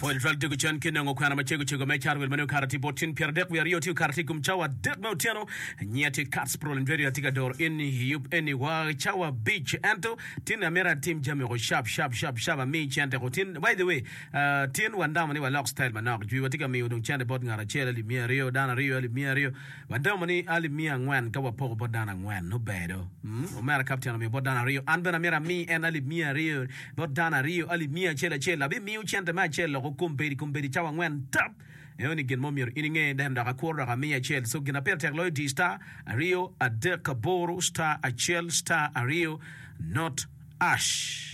Pwony twal dego cen ki nongo kwena macego cego me Carwell ma nongo kare tye bot tin 32 tye kare tye i kom cawa adek me otyeno. Nyiya tye Katz Prolin Radio atye ka doro in i yub eni wa cawa abic ento tin amito atim jami oko shap shap shap shap ami cente ko tin by the way uh, tin wandamo ni walok style manok jwi watye ka miyo dong cente bot ngat acel alip 200 dano aryo alip 200 Wadomo ni alip miya angwen ka wapoko bot dano angwen, nongo ber do. Omera kapten omiyo bot dano aryo, an bene amyero ami en alip miya aryo bot dano aryo, alip miya acel acel. Abimiyo cente me acel loko kombeddi, kombeddi cawa angwen tap. Eno ni gin mo myero in inge, then dok akuro dok amiyo acel. So gin na pire tek loyo di star aryo adek aboro star acel star aryo not ash.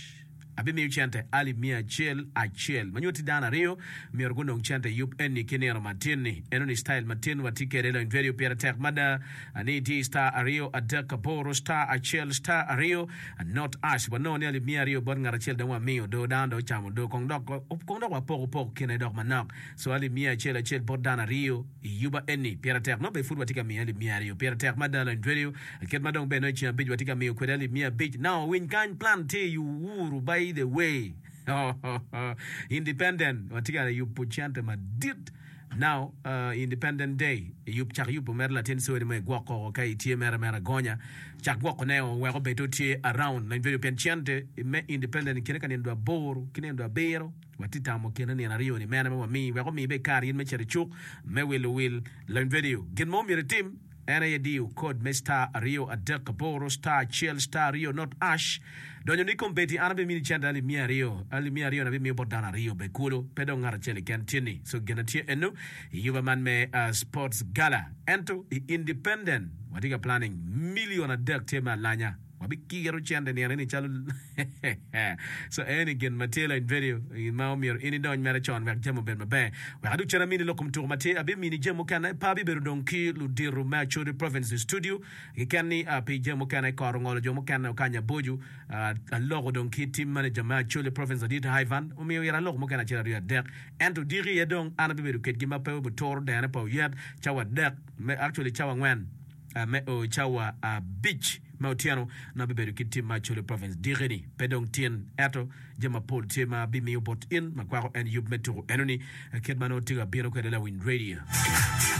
Abimiyo cente alip miya acel acel ma nyutti dano aryo myero gunong cente i yub eni ki nino matin-ni. Enoni style matin watye kwede lony vedio pire tek mada ni itye star aryo adek aboro star acel star aryo not ash wanongo ni alip miya aryo bot ngat acel dong wamiyo do dano dong ocamo do kong dok kong dok wapoko pok kine dok manok so alip miya acel acel bot dano aryo I yuba eni, pire tek nongo bene pud watye ka miyo alip miya aryo. Pire tek mada lony twerio, kit ma dong bene nongo i ceng abic watye ka miyo kwede alip 500. Now winy kany plan tye i Uhuru by the way. Independent watye ka yubo cente madit. Now uh, Independent Day yub cak yubo mere latin sori mo igwok koko ka itye mere mere agonya cak gwoko ne o wek obed tye around lony twerio pien cente me independent i kine ka nino dwe aboro ki nino dwe abiro Watye tamo kine nino aryo-ni mene ma wamii wek omi bed kare in me cito i cuk me wilo wil. Lony vedio. Gin ma omyero itim en aye diyo kod me star aryo adek aboro star acel star aryo not ash. Donyo ni kombeddi an abimini cente alip 200. Alip 200 ni abimiyo bot dano aryo bene kulu pe dong ngat acel keken tye-ni. So gin atye eno i yuba man me sports gala. Ento i independent watye ka planning million adek tye me alanya. Wabikiro cente nino eni calo so eni gin ma tye lony vedio ma omyero in idony mere con wek jami obed maber. Wek adug cen amini lok kom tuko ma tye abimini jami mukene pe abibedo dong ki ludito me Acholi Province i studio keken ni pi jami mukene kor ongolo jo mukene okanya aboco aloko dong ki team manager me Acholi Province ladit Ivan omiyo ira lok mukene acel aryo adek ento diki iye dong an abibedo kedgi ma pe obituro dene pa oyet cawa adek me actually cawa angwen me o cawa abic me otyeno nongo abibedo ki tim me Acholi Province diki-ni. Pe dong tin, ento jami mapol tye ma abimiyo bot in ma kwako en yub me tuko enoni kit ma nongo tye ka bino kwede lawiny radio.